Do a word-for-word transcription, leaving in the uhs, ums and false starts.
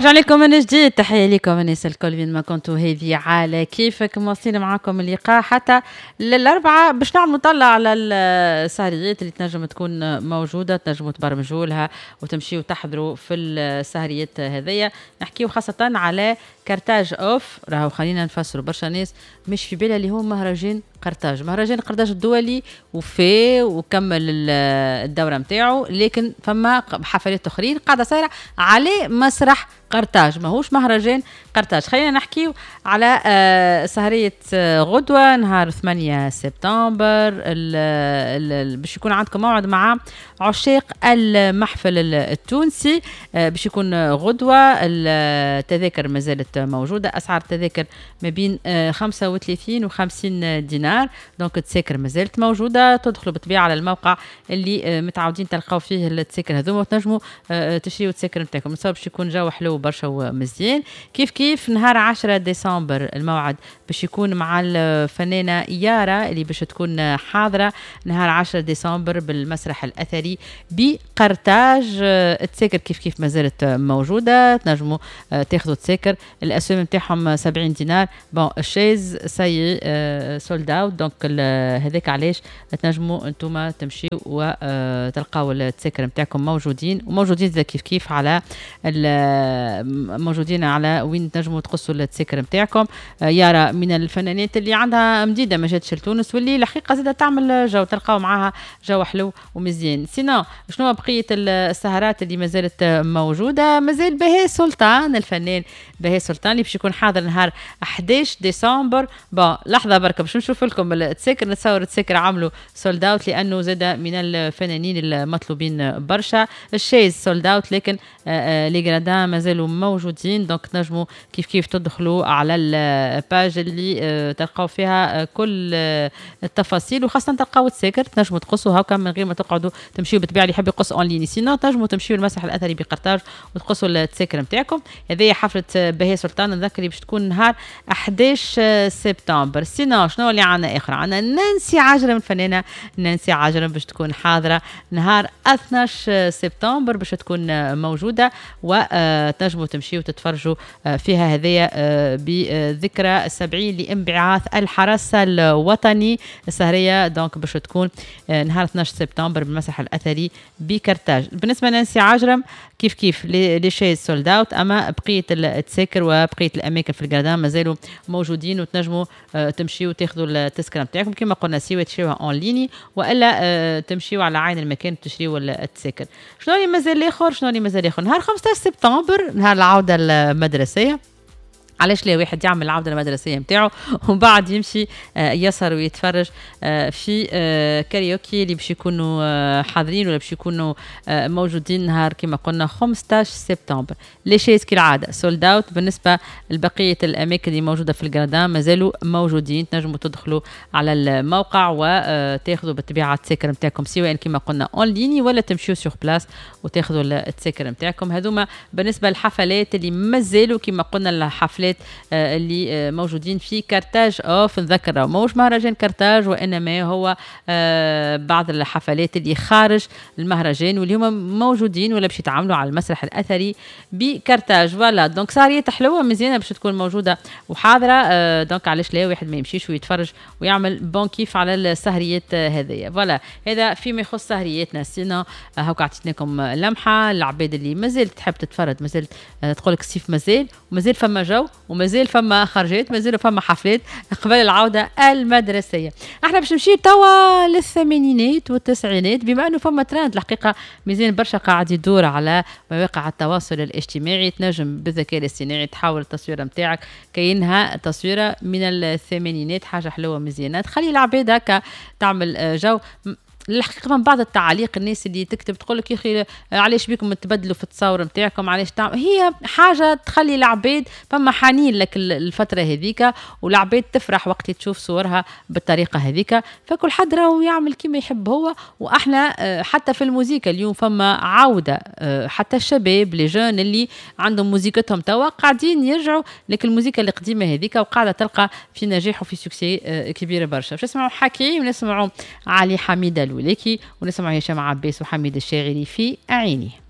رجع لكم من جديد، تحية لكم الناس الكل وين ما كنتوا. هذه على كيفك، مواصلين معاكم اللقاء حتى للأربعة باش نعملوا طلع على السهريات اللي تنجم تكون موجودة، تنجموا تبرمجوا لها وتمشيوا تحضروا في السهريات هذيا. نحكيو خاصة على كارتاج اوف، راهو خلينا نفسروا برشا ناس مش في بالها اللي هو مهرجان قرطاج، مهرجان قرطاج الدولي وفي وكمل الدورة نتاعو، لكن فما حفلات اخرين قاعدة صايرة على مسرح قرطاج، ماهوش مهرجان قرطاج. خلينا نحكيو على آه، سهرية آه، غدوة نهار ثمانية سبتمبر، باش يكون عندكم موعد مع عشاق المحفل التونسي، آه، باش يكون غدوة. التذاكر ما زالت موجودة، أسعار التذاكر ما بين خمسة وثلاثين و خمسين دينار، donc التذاكر ما زالت موجودة. تدخلوا بالطبيعة على الموقع اللي متعودين تلقاو فيه التذاكر هذوما وتنجموا تشريوا التذاكر نتاعكم. باش يكون جو حلو برشا ومزيان. كيف كيف نهار عشرة ديسمبر الموعد باش يكون مع الفنانة يارا اللي باش تكون حاضرة نهار عشرة ديسمبر بالمسرح الأثري بقرطاج. التساكر كيف كيف ما زالت موجودة، تنجموا تاخذوا تساكر، الأسوام نتاعهم سبعين دينار. bon، ال chaises ça y est sold out، donc هذاك علاش تنجموا انتم تمشيو وتلقاو التساكر نتاعكم موجودين، وموجودين كيف كيف على موجودين على وين تنجموا تقصوا التساكر نتاعكم. يارا من الفنانات اللي عندها مديدة ما جاتش لتونس، واللي الحقيقة زاده تعمل جو، تلقاو معاها جو حلو ومزيان. sinon شنو بقية السهرات اللي ما زالت موجوده؟ مازال بهاء سلطان، الفنان بهاء سلطان اللي باش يكون حاضر نهار حداش ديسمبر. bon، لحظة بركة باش نشوف لكم التساكر. نتصور التساكر عملوا sold out لانه زاد من الفنانين المطلوبين برشا. ال chaises sold out، لكن آه، آه، les gradins مازالوا موجودين، donc تنجموا كيف كيف تدخلوا على ال page اللي آه، تلقاو فيها كل التفاصيل، وخاصة تلقاو التساكر تنجموا تقصوا هكا من غير ما تقعدوا تمشيو. بالطبيعة اللي يحب يقص en ligne، sinon تنجموا تمشيو المسرح الاثري بقرطاج وتقصوا التساكر نتاعكم. هذه حفلة بهاء سلطان، نذكر باش تكون نهار حداش سبتمبر. sinon شنو اللي عندنا اخر؟ عندنا نانسي عجرم، الفنانة نانسي عجرم باش تكون حاضره نهار اثناش سبتمبر، باش تكون موجودة وتنجموا تمشيوا وتتفرجوا فيها. هذيا بذكرى السبعين لانبعاث الحرس الوطني. السهريه donc باش تكون نهار اثناش سبتمبر بالمسرح الاثري بكرتاج. بالنسبة لنانسي عجرم كيف كيف les chaises sold out، اما بقية التساكر وبقية الاماكن في ال gradins مازالوا موجودين، وتنجموا آه، تمشيوا وتاخذوا التذكرة نتاعكم كما قلنا، سواء تشريوها en ligne والا آه، تمشيوا على عين المكان تشريوا التساكر. شنو اللي مازال اخر؟ شنو اللي مازال اخر؟ نهار خمسطاش سبتمبر، نهار العودة المدرسيه. علاش لا؟ واحد يعمل العودة المدرسية نتاعو ومن بعد يمشي آه، يسهر ويتفرج آه، في آه، كاريوكي اللي باش يكونوا حاضرين ولا باش يكونوا موجودين نهار كما قلنا خمسطاش سبتمبر. les chaises كالعادة sold out. بالنسبة لبقية الاماكن اللي موجودة في ال gradins مازالوا موجودين، تنجموا تدخلوا على الموقع وتاخذوا بالطبيعة التساكر نتاعكم، سواء كما قلنا en ligne ولا تمشيو sur place وتاخذوا التساكر نتاعكم. هذوما بالنسبة للحفلات اللي مازالوا كما قلنا الحفلات الحفلات آه، اللي آه، موجودين في كارتاج اوف. نذكر ماهوش مهرجان كارتاج، وانما هو آه، بعض الحفلات اللي خارج المهرجان واللي هما موجودين ولا باش يتعاملوا على المسرح الاثري بكارتاج. voilà، donc سهرية حلوة مزيانه باش تكون موجودة وحاضره، donc علاش لا واحد ما يمشيش ويتفرج ويعمل bon كيف على السهريات هذيا؟ voilà، هذا فيما يخص سهرياتنا. sinon هاكا عطيتناكم لمحه العباد اللي مازالت تحب تتفرج، مازالت تقول لك الصيف مازال ومازال فما جو ومازال فما خرجات، مازال فما حفلات قبل العودة المدرسيه. احنا باش نمشي توا للثمانينات والتسعينات، بما انه فما ترند الحقيقة مزيان برشا قاعد يدور على مواقع التواصل الاجتماعي، تنجم بالذكاء الاصطناعي تحول التصويره نتاعك كاينها تصويره من الثمانينات، حاجة حلوة مزيانه تخلي العباد هكا تعمل جو. الحقيقة من بعض التعاليق، الناس اللي تكتب تقول لك: يا اخي علاش بيكم تبدلوا في التصاور نتاعكم؟ علاش تعمل؟ هي حاجة تخلي العباد فما حنين لك الفترة هذيك، والعباد تفرح وقت تشوف صورها بالطريقة هذيك. فكل حد راهو يعمل كما يحب هو. واحنا آه، حتى في الموسيقى اليوم فما عوده، آه، حتى الشباب les jeunes اللي عندهم موزيكتهم توا قاعدين يرجعوا لك الموسيقى القديمة هذيك، وقاعدة تلقى في نجاح وفي succès آه، كبير برشا. باش نسمعوا حكيم ونسمعوا علي حميده الولاكي ونسمعوا هشام عباس وحميد الشاعري في عيني.